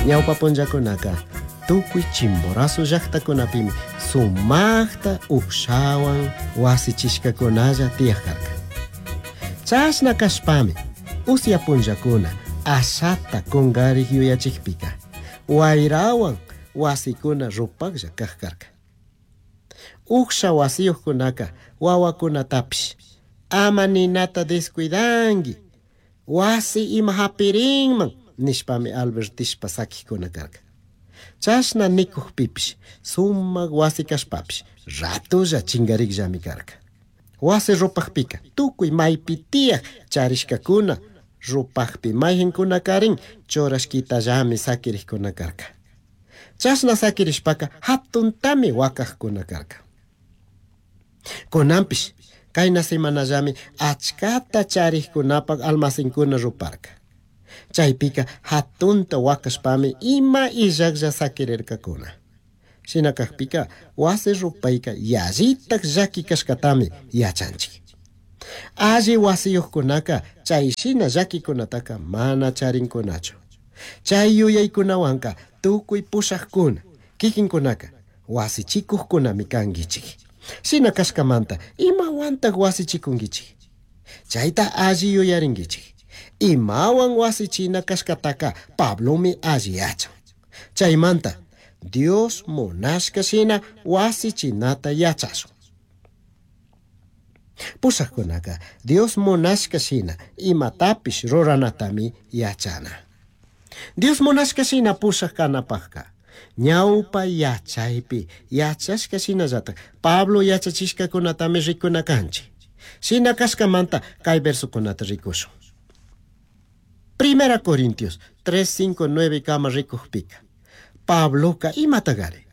Ñawpa punllakunaka tukuy Chimborazo llaqtakunapimi sumaqta uqshawan wasichishkakunalla tiyaq karka. Chashna kashpami usya punllakuna ashata kungarik yuyachikpika wayrawan wasikuna rupaklla kaq karka. Uqsha wasiyuqkunaka wawakunatapish ama ninata descuidanki, wasi ima hapirinman nishpami albertishpa sakikuna karka. Chashna nikukpipish sumak wasi kashpapish ratolla chingarikllami karka. Wasi rupakpika tukuy maypi tiyaq charishkakuna rupakpi mayqinkunakarin churashkitallami sakirikkuna karka. Chashna sakirishpaka hatuntami wakaqkuna karka. Kunanpish kayna semanallami achkata charikkunapak almacenkuna ruparka. Chaypika hatunta wakashpami ima illaklla sakirirkakuna. Shina kakpika wasi rupayka yallitak llaki kashkatami yachanchik. Alli wasiyuqkunaka chay shina llakikunataka mana charinkunachu. Chay yuyaykunawanka tukuy pushaqkuna kikinkunaka wasichikuqkunami kankichik. Shina kashkamanta imawantaq wasichikunkichik. Chayta alli yuyarinkichik. Imawan wasichina kashkataka Pablomi alli yachan. Chaymanta Dios munashka shina wasichinata yachashun. Pushaqkunaka Dios munashka shina imatapish ruranatami yachana. Dios munashka shina pushaq kanapaqka ñawpa yachaypi yachashka shinallatak Pablo yachachishkakunatami rikuna kanchik. Shina kashkamanta kay versokunata rikushun. Primera Corintios 3, 5, 9 kama rikukpika. Pabloka imatagari,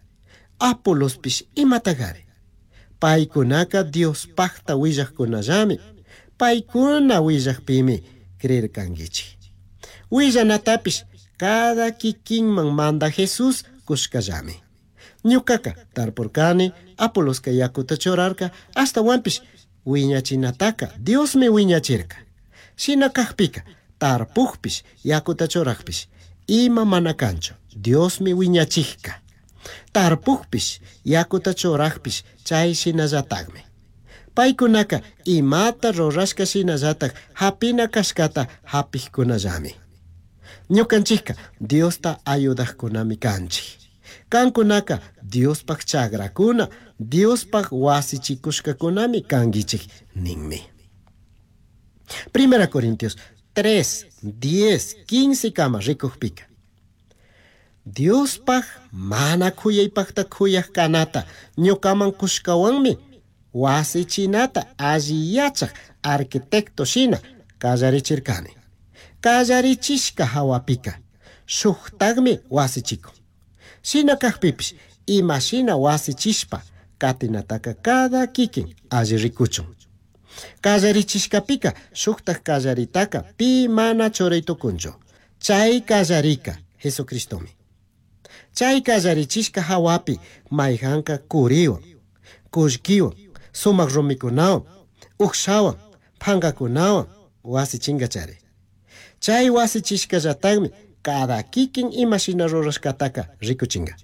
Apolospish imatagari. Paykunaka Diospaqta willaqkunallami, paykuna willaqpimi creerkankichik. Willanatapish cada kikinman manda Jesús kushkallami. Ñukaka tarpurkani, Apoloska yakuta churarka, ashtawanpish wiñachinataka Diosmi wiñachirka. Shina kakpika tarpukpish yakuta churaqpish ima mana kanchu, Diosmi wiñachikka. Tarpukpish yakuta churaqpish chay shinallatakmi. Paykunaka imata rurashka shinallatak hapina kashkata hapikkunallami. Ñukanchikka Diosta ayudaqkunami kanchik. Kankunaka Diospaq chakrakuna, Diospaq wasichikushkakunami kankichik ninmi. Primera Corintios 3, 10, 15 kama rikukpika. Diospaq mana khuyaypaqta khuyaq kanata ñukaman kushkawanmi wasichinata alli yachaq arquitecto shina kallarichirkani. Kallarichishka hawapika shuktaqmi wasichikun. Shina kakpipish imashina wasichishpa katinataka cada kikin alli rikuchun. Kallarichishkapika shuktaq kallaritaka pi mana churay tukunchu. Chay kallarika Jesucristomi. Chay kallarichishka hawapi mayqanka kuriwan, kullkiwan, sumaq rumikunawan, uqshawan, phankakunawan wasichinkachari. Chay wasichishkallataqmi cada kikin imashina rurashkataka rikuchinka.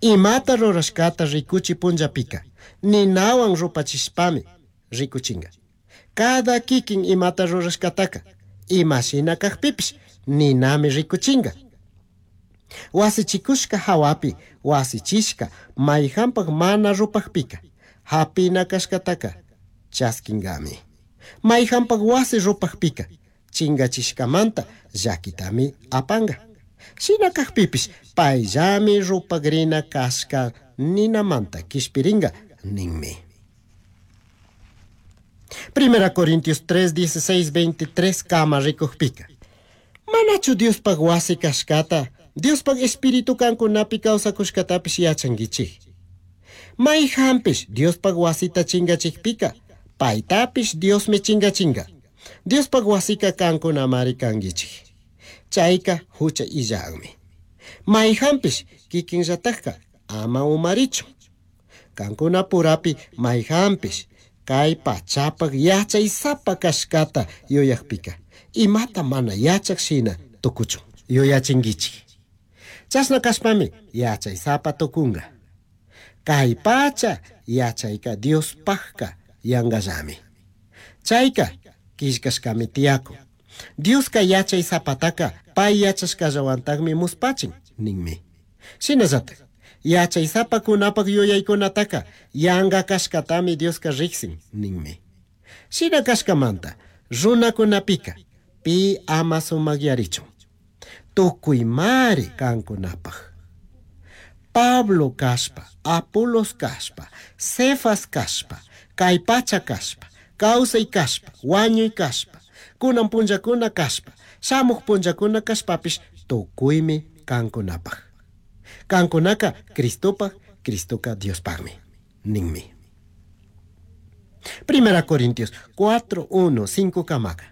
Imata rurashkata rikuchi punllapika ninawan rupachishpami rikuchinka. Cada kikin imata rurashkataka imashina kakpipish ninami rikuchinka. Wasichikushka hawapi wasichishka mayqanpaq mana rupaqpika hapina kashkataka chaskinkami. Mayqanpaq wasi rupaqpika chingachishkamanta llakitami apanka. Shina kakpipish payllami rupakrina kashka ninamanta kishpirinka ninmi. Primera Corintios 3, 16, 23 kama rikukpika. Manachu Diospaq wasi kashkata, Diospaq espíritu kankunapi kawsakushkatapish yachankichik. Mayqanpish Diospaq wasita chingachikpika, paytapish Diosmi chingachinka. Diospaq wasika kankunamari kankichik. Chayka hucha illaqmi. Mayqanpish kikinllatakka ama umarichun. Kankunapurapi mayqanpish kay pachapaq yachaysapa kashkata yuyaqpika, imata mana yachaq shina tukuchun yuyachinkichik. Chashna cashpami yachaysapa tucunga. Cai pacha yachaica Diospajca yangallami. Chaica quillcashcami tiyacun. Diosca yachaysapataca pai yachashcallahuantajmi muspachin ninmi. Shinallataj yachaysapacunapaj yuyaicunataca yanga cashcatami Diosca rijsin ninmi. Shina cashcamanta runacunapica pi ama sumagyarichun. Tucuimari cancunapaj. Pablo cashpa, Apolos cashpa, Cefas cashpa, cai pacha cashpa, causai cashpa, huañui cashpa, cunan punllacuna cashpa, shamuj punllacuna cashpapish tucuimi cancunapaj. Cancunaca Cristopaj, Cristoca Diospajmi, ninmi. Primera Corintios 4, 1, 5 camaca.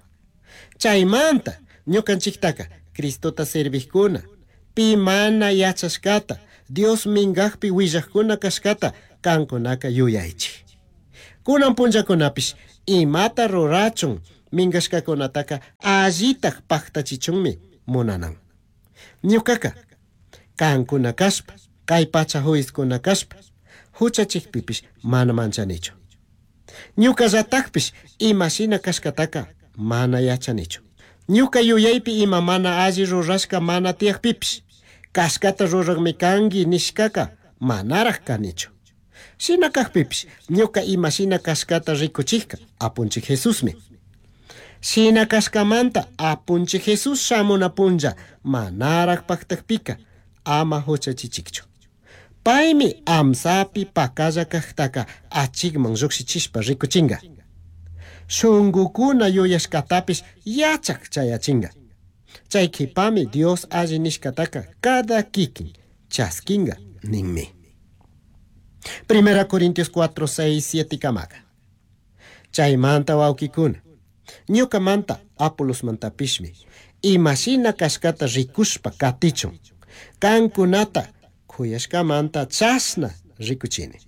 Chaymanta ñukanchiktaka Cristota servijkuna, pi mana yachashkata, Dios mingajpi willajkuna kashkata kankunaka yuyaychik. Kunan punllakunapish imata rurachun mingashkakunataka allitaj pajtachichunmi munanan. Ñukaka kankuna kashpa, kay pacha juizkuna kashpa, huchachikpipish mana manchanichu. Ñukallatajpish imashina kashkataka mana yachanichu. Ñuka yuyaypi ima mana alli rurashka mana tiyakpipish, kashkata rurakmi kanki nishkaka manaraj kanichu. Shina kajpipish ñuka imashina kashkata rikuchijka Apunchik Jesusmi. Shina kashkamanta Apunchik Jesús shamuna punlla manaraj paktakpika ama huchachichikchu. Paymi amsapi pakalla kajtaka achikman llukshichishpa rikuchinga. Shungukuna yuyashkatapish yachak chayachinga. Chay qhipami Dios alli nishkataka cada kikin chaskinga ninmi. Primera Corintios 4, 6, 7 kamaka. Chaymanta wawkikuna, ñukamanta Apolosmantapishmi imashina kashkata rikushpa katichun, kankunata kuyashkamanta chashna rikuchini.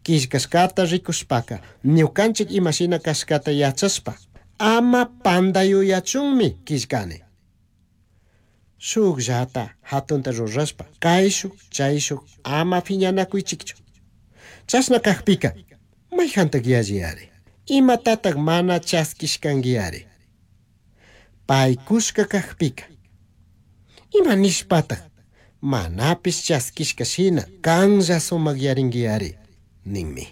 Killkashkata rikushpaka ñukanchik imashina kashkata yachashpa ama panda yuyachunmi killkani. Shukllata hatunta rurashpa kayshuk chayshuk ama phiñanakuychikchu. Chashna kajpika mayjantak yalliyari, imatatak mana chaskishkankiyari. Paykushka kajpika ima nishpatak manapish chaskishka shina kanlla sumakyarinkiari ninmi.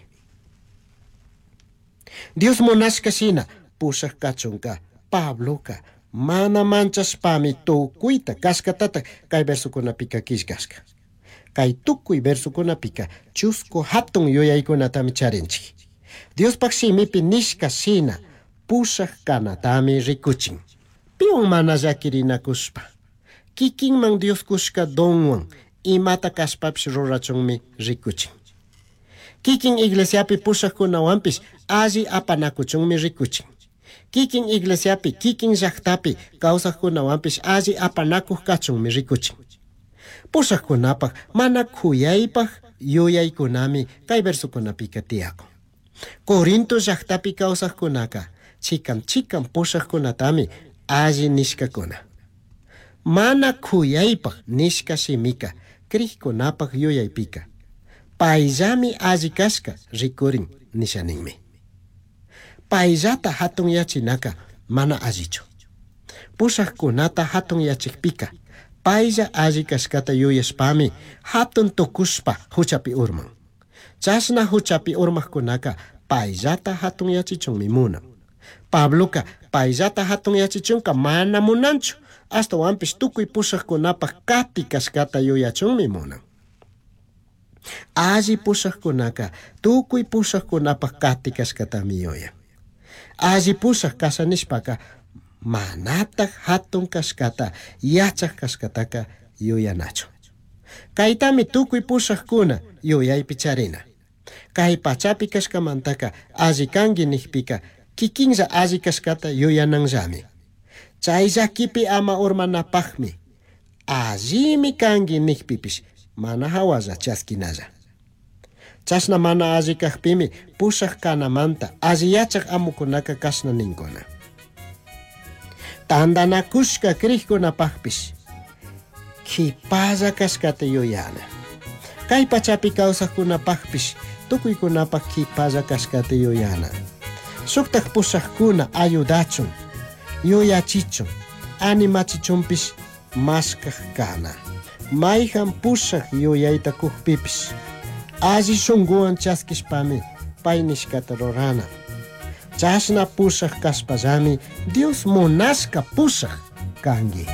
Dios munashka shina pushak kachunka Pabloka mana manchashpami tukuyta kashkatatak kay versokunapika killkashka. Kay tukuy versokunapika chusku hatun yuyaykunatami charinchik. Diospaj shimipi nishka shina pushak kanatami rikuchin. Piwan mana llakirinakushpa, kikinman Dios kushka donwan imata kashpapish rurachunmi rikuchin. Kikin iglesiapi pushakkunawanpish alli apanakuchunmi rikuchin. Kikin iglesiapi, kikin llaktapi kawsaqkunawanpish alli apanakuq kachunmi rikuchin. Pushaqkunapaq mana kuyaypaq yuyaykunami kay versokunapika tiyakun. Corinto llaktapi kawsaqkunaka chikan chikan pushaqkunatami alli nishkakuna. Mana kuyaypaq nishka shimika krikkunapaq yuyaypika payllami alli kashka rikurin nisha ninmi. Payllata hatunyachinaka mana allichu. Pushaqkunata hatunyachikpika paylla alli kashkata yuyashpami hatun tukushpa huchapi urman. Chashna huchapi urmaqkunaka payllata hatunyachichunmi munan. Pabloka payllata hatunyachichunka mana munanchu, ashtawanpish tukuy pushaqkunapaq kati kashkata yuyachunmi munan. Alli pushaqkunaka tukuy pushaqkunapaq kati kashkatami yuyan. Alli pushaq kasha nishpaka manataj hatun kashkata yachaq kashkataka yuyanachu. Kaytami tukuy pushaqkuna yuyaypi charina. Kay pachapi kashkamantaka alli kanki nijpika kikinlla alli kashkata yuyananllami. Chay llakipi ama urmanapaqmi allimi kanki nijpipish mana hawalla chaskinalla. Chashna mana alli kajpimi pushaq kanamanta alli yachaq amukunaka kashna ninkuna. Tantanakushka krikkunapaqpish Quipalla cashcata yuyana. Cai pachapi causajcunapajpish tucuicunapaj quipalla cashcata yuyana. Shujtaj pushajcuna ayudachun, yuyachichun, animachichunpish mashcaj cana. Maijan pushaj yuyaita cujpipish alli shunguhuan chasquishpami pai nishcata rurana. Chashna pushaj cashpallami Dios munashca pushaj cangui.